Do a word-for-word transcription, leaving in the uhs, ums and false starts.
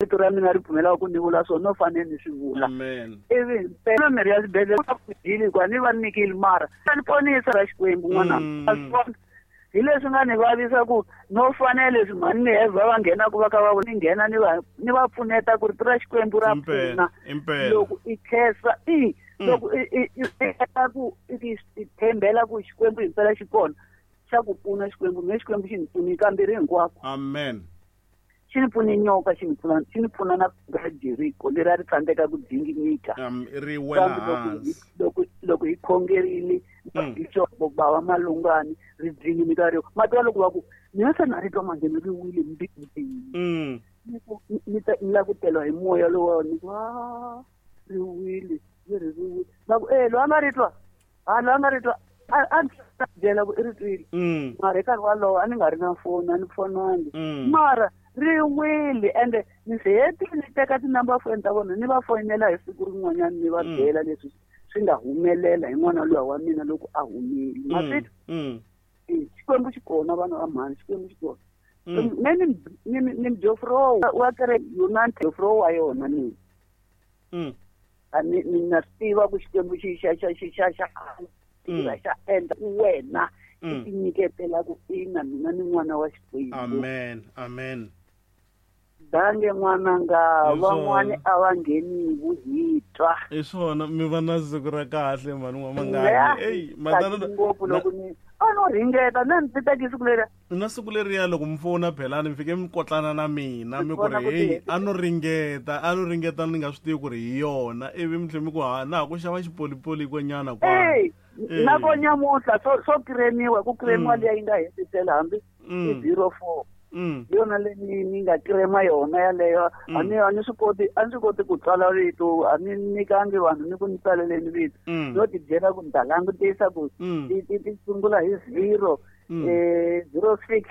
Rito ra mina ri pfumelaka ku ni vula swona no fanele ni swi vula. Amen. Ivi mpela mirhi ya xibedhlele ku hikuva ni va nyikile mara ni ponisa ra Xikwembu n'wana. Mm. A swi vona. Hi leswi nga ni vavisa ku no fanele leswi mhani ni Eva va nghenaka va ka va ni nghena ni va ni va pfuneta ku rito ra Xikwembu ra Impela, pfuna. impela. Loko i khensa i Mm. loko i i i i ku i i tshembela ku Xikwembu himpela xi kona xa ku pfuna Xikwembu me Xikwembu xi ni pfunile kambirhi hinkwako. Amen. Xi ni pfune nyoka xi ni pfuna xi ni pfuna na ra Jeriko leri a ri tsandzeka ku dzinginyika. Um, ri wela Kambe loko hi hansi. loko loko hi khongerile Mm. bixopo bava malungani ri dzinginyika ri mati wa loko va ku mina se na ri twa manjhe ri wile mbilwini. Mm. Ni ku ni ta ni lava ku teliwa hi moya lowa ni ku a ri wile ri ri wile va ku eh loyi a nga ri twa ha loyi a nga ri twa a a ndzi ta byela ku i ri twile. Mm. Mara hi nkarhi walowo a ni nga ri na foni a ni fonangi. Mm. Mara ri wile ende ni se hetile ni teka ti-number phone ta vona ni va foyinela hi siku rin'wanyana ni va Mm. byela leswi swi nga humelela hi n'wana luya wa mina loko a humile. Mm. Maswitwa? Mm. Eh, Xikwembu xi kona vana va mhani Xikwembu xi kona. Mm. Me ni ni ni Mjofro wa kereke yona Mjofro wa yona mina. Mm. A ni ni na swi tiva ku Xikwembu xi xa xa xi xa xa Mm. tiva xa endla ku wena i Mm. tinyiketela ku ina mina ni n'wana wa Xikwembu. Amen. Amen. Dange n'wananga Hi swona. van'wani a va ngheni hi twa. Hi swona mi va na siku ra kahle mhani n'wamangani. Ya, Ey, matana tsaki ngopfu loko ni a no ringeta na ndzi teki siku leri. Na siku leriya loko mi fona phelani mi fike mi kotlana na mina mi ku Vona ri ku hey ti- a no ringeta a no ringeta ni nga swi tivi ku ri hi yona ivi mi tlhela mi ku ha na ha ku xava xipolipoli kwenyana kwala. Ey, Eh. na ko nyamuntlha swo swo kiremiwa ku kiremiwa Mm. liya yi nga hetisela hambi i Mm. zero four. Mm. Hi yona leyi ni ni nga kirema yona yaleyo. Mm. A ni a ni swi koti a ni swi koti ku tsala vito a ni nyikangi vanhu ni ku ni tsaleleni vito. Mm. No ti byela ku ni ta langutisa ku Mm. ti ti ti sungula hi zero Mm. eh zero six.